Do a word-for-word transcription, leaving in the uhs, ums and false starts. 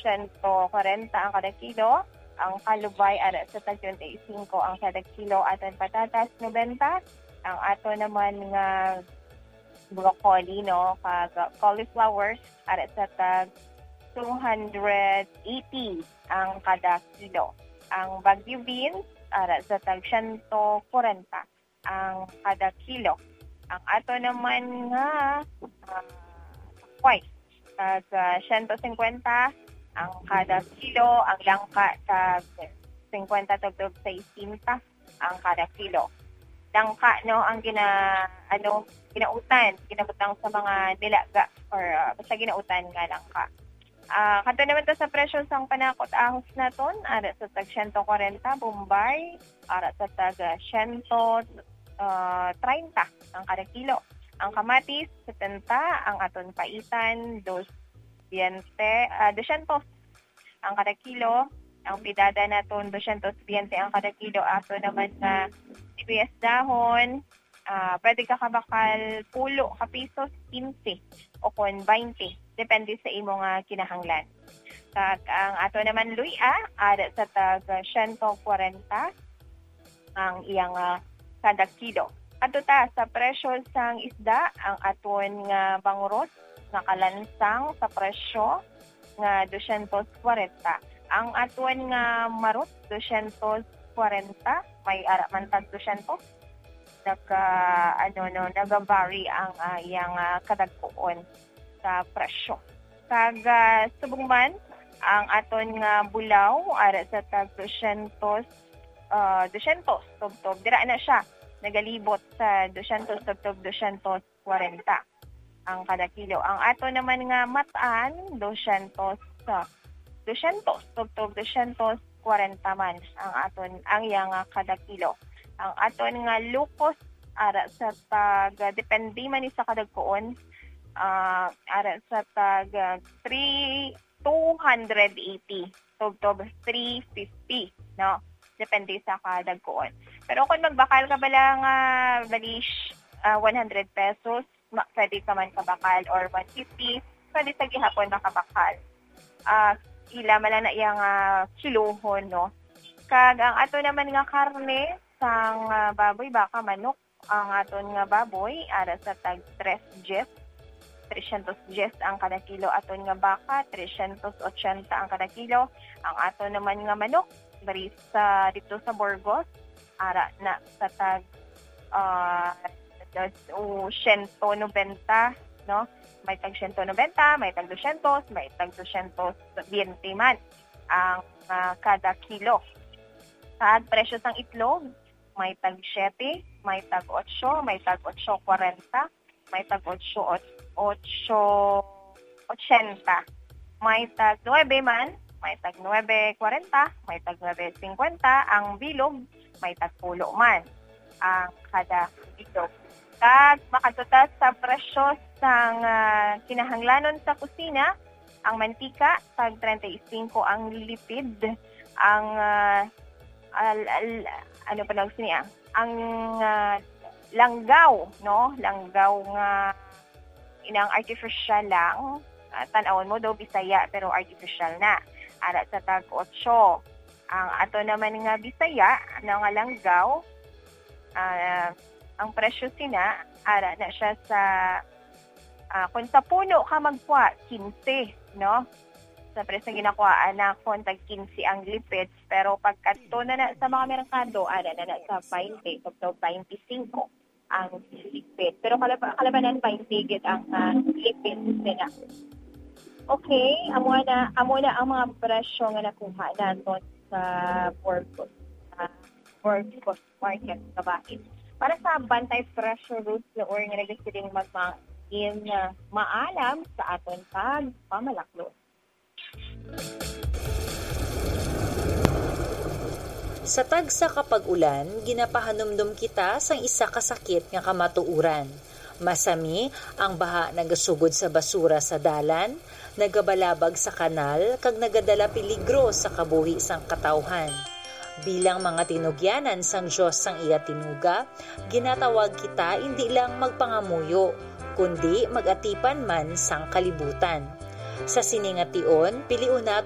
siyento kwarenta ang kada kilo. Ang kalubay ara sa tag twenty-five ang kada kilo. Aton patatas, nobenta. Ang ato naman nga broccoli, no, kag cauliflower, ara sa tag two hundred eighty ang kada kilo. Ang Baguio beans, ara sa tag siyento kwarenta ang kada kilo. Ang ato naman nga, ah, sakway, tag, ah, siyento singkwenta ang kada kilo. Ang langka, tag singkwenta tubtob sesenta ang kada kilo. Langka, no, ang gina-, ano, ginautan, ginabutang sa mga nilaga or, ah, basta ginautan nga langka. Ah, kadto naman ta sa presyo sang panakot ahos naton, ara sa tag siyento kwarenta, Bombay, ara sa tag, ah, siyento, ah, treinta ang kada kilo. Ang kamatis, setenta, ang aton paitan, dos biyente, ah, dosyentos ang kada kilo. Ang pidada naton, dosyentos biyente ang kada kilo. Ato naman nga sibuyas dahon, ah, pwede ka kabakal pulo ka pisos, kinse o kon baynte, depende sa imo nga kinahanglan. Kag ang ato naman luya, ara sa tag siyento kwarenta ang iyang, ah, kada kilo. Adto ta sa presyo sang isda, ang aton nga bangrot nakalansang sa presyo nga dosyentos kwarenta. Ang aton nga marot, dosyentos kwarenta, may ara man tag dosyentos. Nagka-, ano, no, nagavary ang, ah, iyang, ah, kadagkoon sa presyo. Kag, ah, subong man, ang aton nga bulaw, ara sa tag dosyentos, ah, dosyentos tubtob. Dira na siya, nagalibot sa dosyentos tubtob dosyentos kwarenta ang kada kilo. Ang ato naman nga matan, dosyentos, ah, dosyentos, tubtob dosyentos kwarenta man ang aton, ang iya nga kada kilo. Ang aton nga lukos, ara sa tag, depende man ni sa kadagkoon, ah, ara sa tag, ah, three, two hundred eighty, tubtob three fifty, no? Depende sa kadagkoon. Pero kung magbakal ka bala nga, bali, sh-, ah, one hundred pesos, ma-, pwede ka man kabakal, or one fifty, pwede sa gihapon makabakal. Ah, ila man lang na iya nga kilohon, no? Kag ang ato naman nga karne, sang, ah, baboy, baka, manok, ang aton nga baboy, ara sa tag tres dies, tresyentos dies ang kada kilo. Aton nga baka, tresyentos otsenta ang kada kilo. Ang aton naman nga manok, diri sa, dito sa Burgos, ara na sa tag, ah, o, siyento nobenta, no? May tag siyento nobenta, may tag dosyentos, may tag dosyentos biyente man ang, ah, kada kilo. Sa presyo sang itlog, may tag siyete, may tag otso, may tag otso kwarenta, may tag otso, ot-, otso otsenta, may tag nuebe man, may tag nuebe kwarenta, may tag nuebe singkwenta, ang bilog, may tag pulo man ang kada bilog. Kag makadto ta sa presyo sang, ah, kinahanglanon sa kusina, ang mantika, tag treinta y cinco ang lipid, ang, ah, al-, al-, ano pa nag sini, ah? Ang, ah, langgaw, no? Langgaw nga inang artificial lang. Ah, tan-awon mo daw Bisaya, pero artificial na. Ara sa tag otso. Ang ato naman nga Bisaya, ano nga langgaw, ah, ang presyo sina, ara na siya sa, ah, kung sa puno ka magkuha, kinse, no? Sa presyo ginakuhaan na kung tag kinse ang lipid, pero pagkadto na na sa mga merkado, ara na na sa baynte, tubtob baynte singko ang lipid. Pero kalaba-, kalabanan baynte gid ang, ah, lipid nila. Okay, amo na, amo na ang mga presyo nga nakuha naton sa Burgos, ah, Burgos Market, kabahin. Para sa Bantay Presyo, Ruth Leor nga nagasiling magmain, ah, maalam sa aton pagpamalaklon. Sa tagsa ka pag-ulan, ginapahanumdom kita sang isa ka sakit nga kamatuoran. Masami, ang baha nagasugod sa basura sa dalan, nagabalabag sa kanal, kag nagadala peligro sa kabuhi sang katawhan. Bilang mga tinugyanan sang Dios sang iya tinuga, ginatawag kita indi lang magpangamuyo, kundi mag-atipan man sang kalibutan. Sa sini nga tion, pilion naton